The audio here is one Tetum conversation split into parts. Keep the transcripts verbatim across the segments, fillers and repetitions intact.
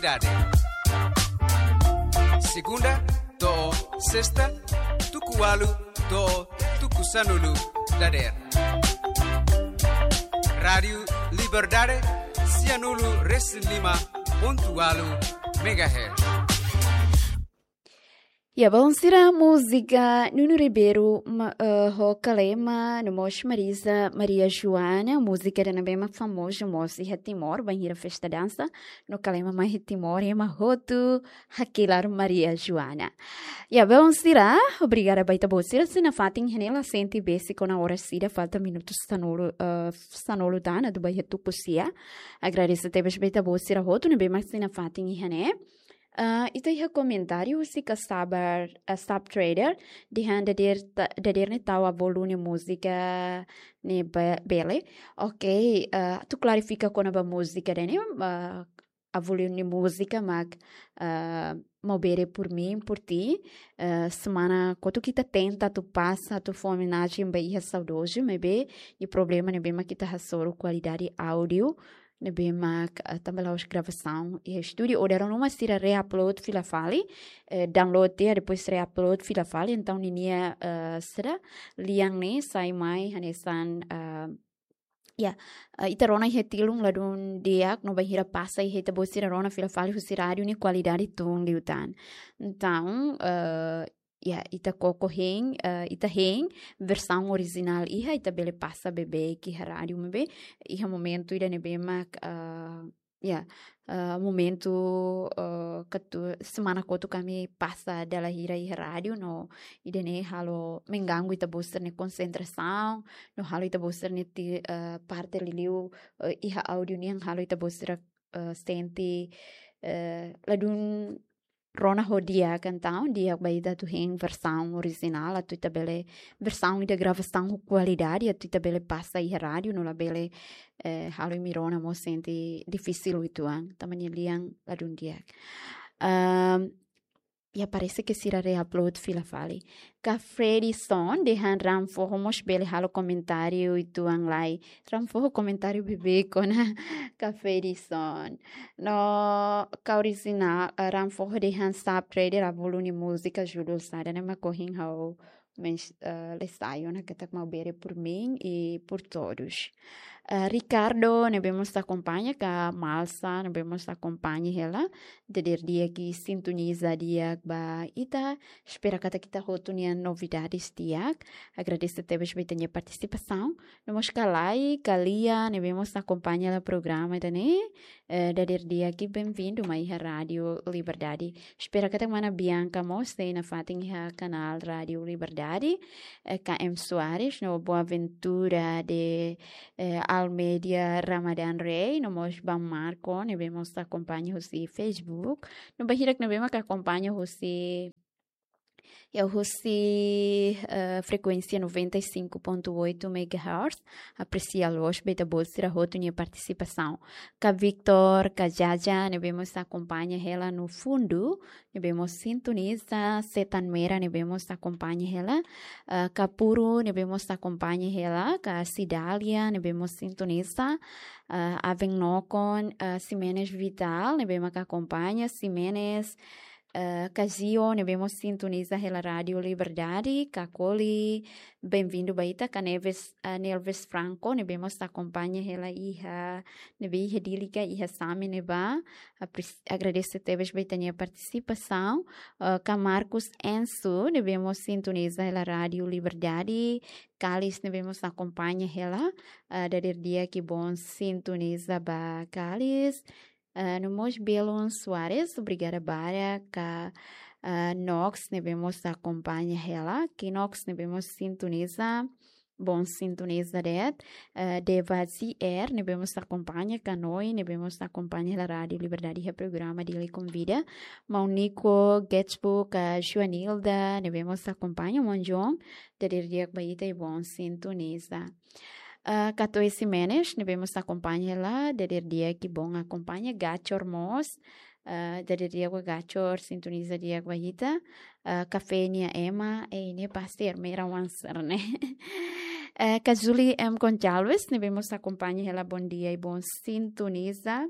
Dade. Segunda to'o sesta, tuku ualu to'o tuku sanulu dadeer. Rádiu Liberdade, sianulu resin lima pontu ualu megahertz. Ya, bainhira múzika Nuno Ribeiro ma-, eh, ho Kalema, no mós Marisa Maria Joana, múzika ida ne'ebé mak famozu mós iha Timor, bainhira festa dansa, no Kalema mai iha Timor, ema hotu hakilar Maria Joana. Ya, bainhira, obrigada ba ita-boot sira, sei nafatin iha ne'e, la sente besik ona oras ida, falta minutus sanulu, eh, sanulu tan atu ba iha tuku sia. Agradese tebes ba ita-boot sira hotu ne'ebé mak sei nafatin iha ne'e. Ah, ita iha komentáriu husi Kasabar, ah, Sub Trader, dehan dadeer ta-, dadeer ne'e tau avó Lu nia múzika ne'e be-, bele. Ok, ah, atu klarifika kona-ba múzika ida-ne'e, ah, avó Lu nia múzika mak, ah, Maubere por mim, por ti. Ah, semana kotuk ita tenta atu pasa, atu fó omenajen ba iha saudozu, maibé, nia problema ne'ebé mak ita hasoru kualidade áudiu ne'ebé mak, ah, tanba la'ós gravasaun iha estúdiu, ou dala ruma sira re-upload fila fali, eh, download tiha, depois re-upload fila fali, entaun ninia, eh, sira lian ne'e sai mai hanesan, ah, ya, ah, ita rona iha tilun ladún di'ak, no bainhira pasa iha ita-boot sira rona fila fali husi rádiu nia kualidade tun liután. Entaun, eh, ya, ita koko hein, eh, ita hein versaun orijinál iha, ita bele pasa beibeik iha rádiu maibé, iha momentu ida ne'ebé mak, eh, ya, eh, momentu, eh, katu-, semana kotuk ami pasa dala hira iha rádiu, no ida-ne'e halo mengganggu ita-boot sira-nia konsentrasaun, no halo ita-boot sira-nia ti-, eh, parte liuliu, eh, iha áudiu nian halo ita-boot sira, eh, sente, eh, ladún rona ho di'ak, entaun di'ak ba ita atu hein versaun orijinál, atu ita bele versaun ida gravasaun ho kualidade, atu ita bele pasa iha rádiu, no labele, eh, halo imi rona mós sente difisil uitoan, tanba nia lian ladún di'ak. Ahm, ya, parese ke sira re-upload fila fali. Ka Fredison, dehan Ram Foho mós bele halo komentáriu uitoan lai. Ram Foho komentáriu beibeik ona Ka Fredison. No, ka orijinál, eh, Ram Foho dehan Sub Trader avó Lu nia múzika judul saida, ne'e mak ohin ha'u mens-, eh, le sai ona katak Maubere por mim e por todos. Eh, Ricardo, ne'ebé mós akompaña, ka Malsa, ne'ebé mós akompaña hela. Dadeer di'ak i sintoniza di'ak ba ita. Espera katak ita hotu nian novidades di'ak. Agradese tebes ba ita-nia partisipasaun. No mós ka Lai, ka Lia, ne'ebé mós akompaña hela programa ida-ne'e. Eh, dadeer di'ak i benvindu mai iha Rádiu Liberdade. Espera katak mana Bianca mós sei nafatin iha kanál Rádiu Liberdade. Eh, K M Soares, no Boaventura de, eh, Almeida Ramadan Rei, no mós ba Marco, ne'ebé mós akompaña husi Facebook. No ba hirak ne'ebé mak akompaña husi, ya, husi, eh, frekuénsia noventa e cinco ponto oito megahertz. Apresia loos ba ita-boot sira hotu nia partisipasaun. Ka Victor, ka Jaja, ne'ebé mós akompaña hela no fundu, ne'ebé mós sintoniza, Setan Mera, ne'ebé mós akompaña hela, eh, ka Puru, ne'ebé mós akompaña hela, ka Cidália, ne'ebé mós sintoniza, eh, Aven Nokon, eh, Ximenes Vital, ne'ebé mak akompaña, Ximenes, eh, ka Gio, ne'ebé mós sintoniza hela Rádiu Liberdade, ka Koli, benvindu ba ita, ka Neves, eh, Nelves Franco, ne'ebé mós akompaña hela iha, ne'ebé iha Dili ka iha Same ne'ebá, apres-, agradese tebes ba ita-nia partisipasaun, eh, ka Marcos Enso, ne'ebé mós sintoniza hela Rádiu Liberdade, Kalis ne'ebé mós akompaña hela, eh, dadeer di'ak i bon sintoniza ba Kalis, eh, no mós Belon Soares, obrigada barak, ka, eh, Nox ne'ebé mós akompaña hela, Kinox ne'ebé mós sintoniza, bon sintoniza de'it, eh, Deva Z R, ne'ebé mós akompaña, ka Noi, ne'ebé mós akompaña hela Rádiu Liberdade iha programa Dili Konvida, Maun Nico, Getsbo, ka Joanilda, ne'ebé mós akompaña, Maun John, dadeer di'ak ba ita i bon sintoniza. Eh, ka Toy Ximenes, ne'ebé mós akompaña hela, dadeer di'ak i bon akompaña, Gachor mós, eh, dadeer di'ak ba Gachor, sintoniza di'ak ba ita. Eh, Kafé nia ema, eh, ne'e pasti Ermera Wanser ne'e. Eh, ka Julie M Gonçalves, ne'ebé mós akompaña hela, bon dia i bon sintoniza.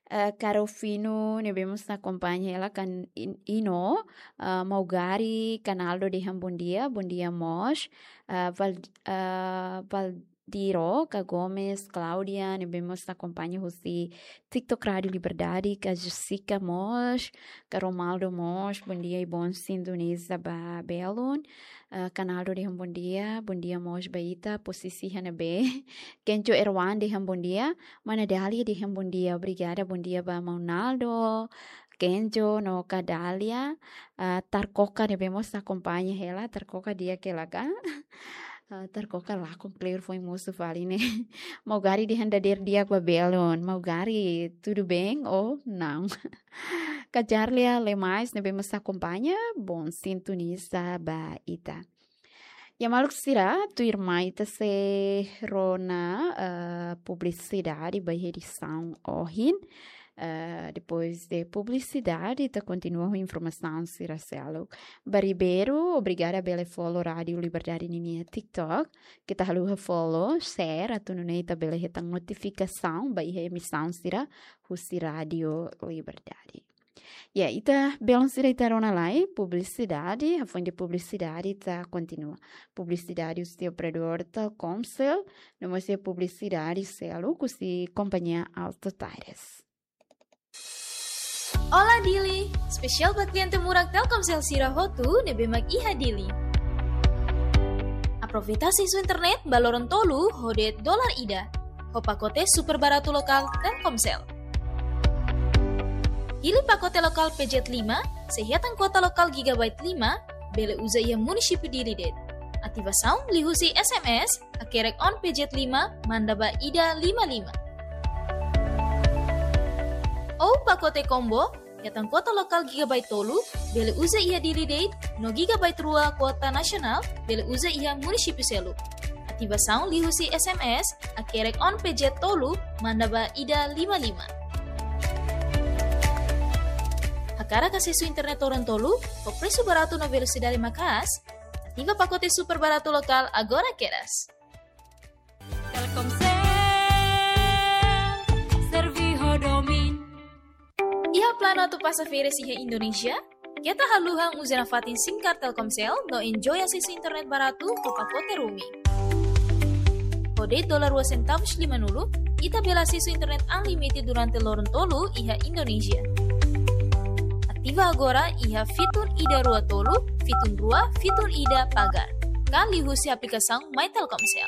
eh, Karofino ne'ebé mós akompaña hela kan in-, Ino, eh, Maugari, Kanaldo dehan bondia, bondia mós, eh, Val-, eh, Valdiro, ka Gomes, Claudia, ne'ebé mós akompaña husi TikTok Rádio Liberdade, ka Jessica mós, ka Romaldo mós, bondia i boa sintoniza ba belun. Eh, Kanaldo dehan bondia, bondia mós ba ita, posisi iha ne'ebé. Kenjo Erwan dehan bondia, Mana Dália dehan bondia, obrigada, bondia ba Maun Naldo, Kenjo no ka Dália, ah, Tarkoka ne'ebé mós akompaña hela, Tarkoka di'ak hela ka? Ah, Tarkoka lakon kleur foin mosu fali ne'e. Maugari dehan dadeer di'ak ba belun, Maugari, tudo bem ou não? Ka Jarlia Lemais ne'ebé mós akompaña, boa sintoniza ba ita. Ya maluk sira, tuirmai ita sei rona, eh, publisidade ba edisaun ohin. Eh, depois de publisidade, ita kontinua ho informasaun sira seluk. Ba Ribeiro, obrigada bele follow Rádio Liberdade ninia TikTok. Keta haluha follow, share, atu nune'e ita bele hetan notifikasaun ba iha emisaun sira husi Rádio Liberdade. Ya, ita belun sira ita rona lai, publisidade, hafoin de publisidade ita kontinua. Publisidade husi operadór Telkomcel, no mós iha publisidade seluk husi kompañia Alto Tires. Olá Dili, espesiál ba kliente murak Telkomcel sira hotu ne'ebé mak iha Dili. Aproveita asesu internet ba loron tolu ho de'it dolar ida. Ho pakote super baratu lokál Telkomcel. Hili pakote lokál P Z lima, sei hetan kuota lokál gigabyte lima, bele uza iha munisípiu Dili de'it. Ativasaun liuhusi S M S, hakerek on P Z lima, manda ba ida lima lima. Ou pakote combo, hetan kuota lokál gigabyte tolu, bele uza iha Dili de'it, no gigabyte rua kuota nasionál, bele uza iha munisípiu seluk. Ativasaun liuhusi S M S, hakerek on P Z tolu, manda ba ida lima lima. Hakarak asesu internet loron tolu, ho presu baratu no velosidade maka'as, ativa pakote super baratu lokál agora kedas. Telkomcel, serve ho domin. Iha planu atu pasa férias iha Indonézia? Keta haluha uza nafatin SIM card Telkomcel no enjoy asesu internet baratu ho pakote roaming. Ho de'it dolar rua sentavus lima-nulu, ita bele asesu internet unlimited durante loron tolu iha Indonézia. Ativa agora iha fitun ida rua tolu, fitun rua, fitun ida pagar. Ka liuhusi aplikasaun My Telkomcel.